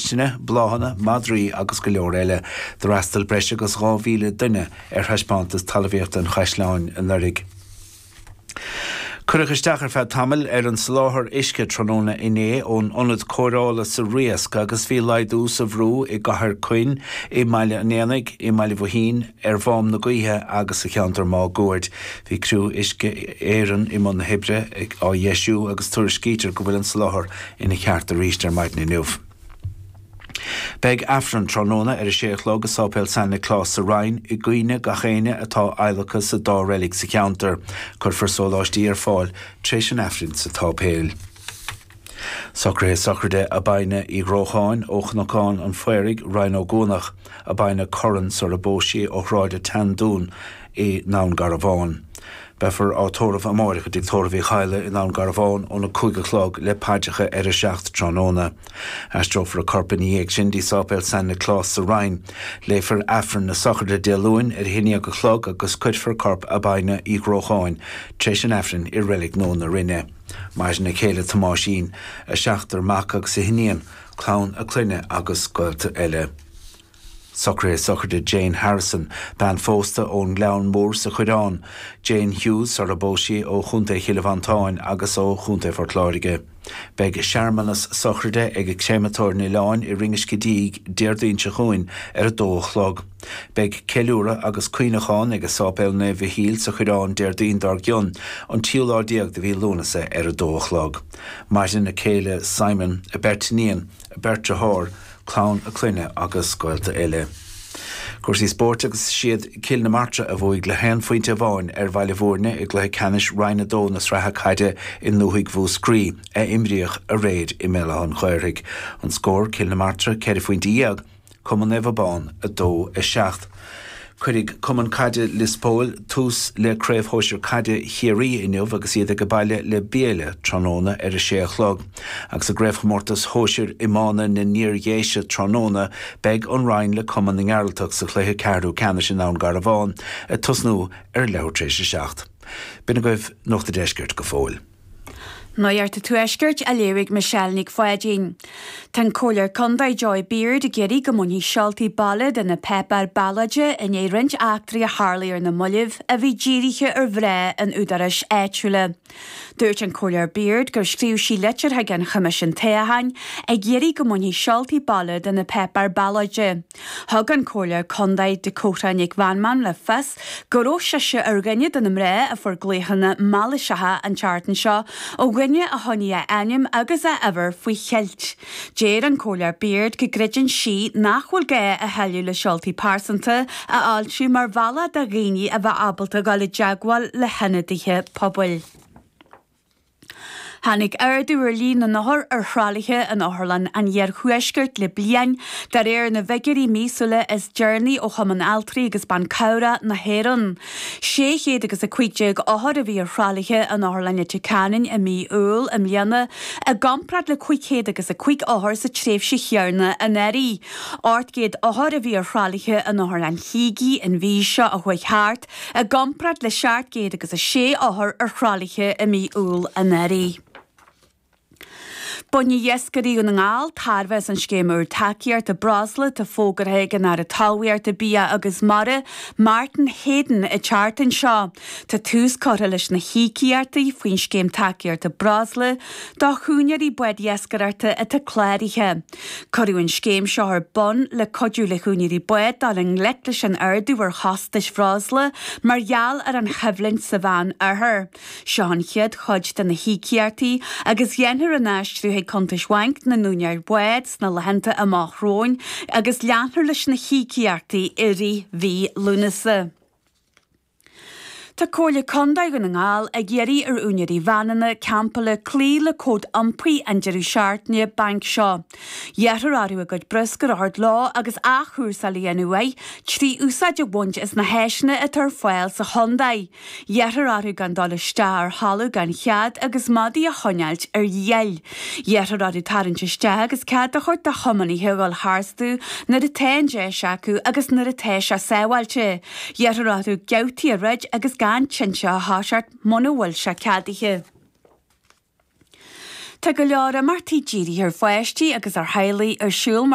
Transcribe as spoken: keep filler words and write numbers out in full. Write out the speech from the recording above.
cistine, bláthanna, madraí agus go leor eile. D'fhreastail breis agus dhá mhíle duine ar thaispeántas talmhaíochta an Chaisleáin anuraidh. Cuireadh isteach ar feadh tamaill ar an soláthar uisce tráthnóna inné ón ionad cóireála sa Riasc agus bhí laghdú sa bhrú i gCathair Coinn, i mBaile an Éanaigh, i mBaile Bhuithín, ar Mhám na Gaoithe agus sa cheantar máguaird. Bhí criú Uisce Éireann i mbun na hoibre á dheisiú agus tuairiscítear go bhfuil an soláthar ina cheart arís ar maidin inniu. Beidh Aifreann tráthnóna ar a sé a chlog i Sáipéal San Nioclás sa Rinn i gcuimhne gach éinne atá adhlactha sa dá reilig sa cheantar. Cuirfear sóláistí ar fáil tar éis an Aifrinn sa tsáipéal. Socruithe sochraide Abina Uí Ghrócháin ó Chnocán an Phaoraigh, Rinn Ó gCuanach, Abina Curran sar a bpós sí ó Shráid an tSeandúin i nDún Garbhán. Beifear á tórramh amáireach i dTigh Tórraimh Uí Chadhla i nDún Garbhán óna cúig a chlog le paidreacha ar a seacht tráthnóna. Aistreofar a corp ina dhiaidh sin dtí Sáipéal San Nioclás sa Rinn. Léifear Aifreann na sochraide Dé Luain ar a haon déag a chlog agus cuirfear corp Abina Uí Ghrócháin tar éis an Aifrinn i Reilig Nua na Rinne. Maireann a céile Tomáisín, a seachtar mac agus a hiníon, clann a clainne agus gaolta eile. Socruithe sochraide Jane Harrison, bean phósta ón nGleann Mór sa Choireán, Jane Hughes sar a bpós sí ó Chontae Chill Mhantáin agus ó Chontae Phort Láirge. Beidh searmanas sochraide ag Créamatóir an Oileáin i Rinn Uisce Díg Déardaoin seo chugainn ar a dó a chlog. Beidh ceiliúradh agus cuimhneachán ag Sáipéal Naomh Mhichíl sa Choireán Déardaoin dár gcionn, an tríú lá déag de mhí Lúnasa ar a dó a chlog. Maireann a céile Simon, a beirt iníon, a beirt dearthár, clann a clainne agus gaolta eile. Cúrsaí spóirt agus is iad Cill na Martra a bhuaigh le haon phointe amháin ar Bhaile Bhúirne i gcluiche ceannais Roinn a dó na sraithe caide i ndúthaigh Mhúscraí a imríodh aréir i mBéal Átha an Ghaorthaidh. An scór, Cill na Martra ceithre phointe dhéag, Cumann Naomh Abán a dó a seacht. Cuirfidh Cumann Caide Lios Póil tús le Craobh Shóisir Caide Chiarraí inniu agus iad ag baile le Biéile tráthnóna ar a sé a chlog. Agus i gCraobhchomórtas Shóisir Iomána na nIardhéise tráthnóna beidh an Rinn le Cumann na nGearaltach sa chluiche ceathrú ceannais i nDún Garbhán ag tosnú ar leathuair tar éis a seacht. B'in agaibh Nuacht an Deiscirt go fóill. Nuacht an Tuaiscirt á léamh ag Michelle Nic Pháidín. Tá an Comhairleoir Contae Joy Beard ag iarraidh go mbainfí seoltaí baile de na páipéir ballóide i ndiaidh roinnt eachtraí a tharla ar na mallaibh a bhí dírithe ar mhná an údaráis áitiúla. Dúirt an Comhairleoir Beard gur scríobh sí litir chuig an Choimisiún Toghcháin ag iarraidh go mbainfí seoltaí baile de na páipéir ballóide. Thug an Comhairleoir Contae Dakota Nic Mheanman le fios go raibh sise ar dhuine de na mná a fuair glaochanna mailíseacha an tseachtain seo ó dhuine a choinnigh a ainm agus a uimhir faoi cheilt. Deir an Comhairleoir Beard go gcreideann sí nach bhfuil gá a thuilleadh le seoltaí pearsanta a fhoilsiú mar bhealach do dhaoine a bheith ábalta dul i dteagmháil le hionadaithe pobail. Tháinig ardú ar líon na n-othar ar thralaithe in Otharlann an Iarthuaiscirt le bliain, de réir na bhfigiúirí míosúla is deireanaí ó Chumann Altraí agus Ban Cabhrach na hÉireann. Sé chéad agus a cúig déag othar a bhí ar thralaithe in Otharlann Leitir Ceanainn i mí Iúil i mbliana, i gcomparáid le cúig chéad agus a cúig othar sa tréimhse chéanna anuraidh. Ocht gcéad othar a bhí ar thralaithe in Otharlann Shligigh an mhí seo a chuaigh thart, i gcomparáid le seacht gcéad agus a sé othar ar thralaithe i mí Iúil anuraidh. Bainfidh iascairí Dhún na nGall tairbhe as an scéim úr tacaíochta breosla atá fógartha ag an Aire Talmhaíochta, Bia agus Mara, Martin Heydon, an tseachtain seo. Tá tús curtha leis na híocaíochtaí faoin scéim tacaíochta breosla do úinéirí bád iascaireachta atá cláraithe. Cuireadh an scéim seo ar bun le cuidiú le húinéirí bád dul i ngleic leis an ardú ar chostais bhreosla mar gheall ar an choimhlint sa Mheánoirthear. Seo an chéad chuid de na híocaíochtaí agus dhéanfar an aistriú chuig cuntais bhainc na n-úinéirí bád sna laethanta amach romhainn agus leanfar leis na híocaíochtaí i rith mhí Lúnasa. Tá Comhairle Contae Dhún na nGall ag iarraidh ar úinéirí veaineanna campála cloí le cód iompair an deireadh seachtaine bainc seo. Iarrthar orthu a gcuid bruscair a thabhairt leo agus athchúrsáil a dhéanamh air trí úsáid a bhaint as na háiseanna atá ar fáil sa chontae. Iarrthar orthu gan dul isteach ar thalamh gan chead agus madaí a choinneáilt ar díol. Iarrthar orthu tarraingt isteach agus cead a thabhairt do thiománaithe a dhul tharstu nuair atá an deis acu agus nuair atá sé sábháilte. Iarrthar orthu geaftaí a throid agus gan tinte a thoiseacht muna bhfuil sé ceadaithe. Tá go leor imeachtaí dírithe ar pháistí agus ar theaghlaigh ar siúl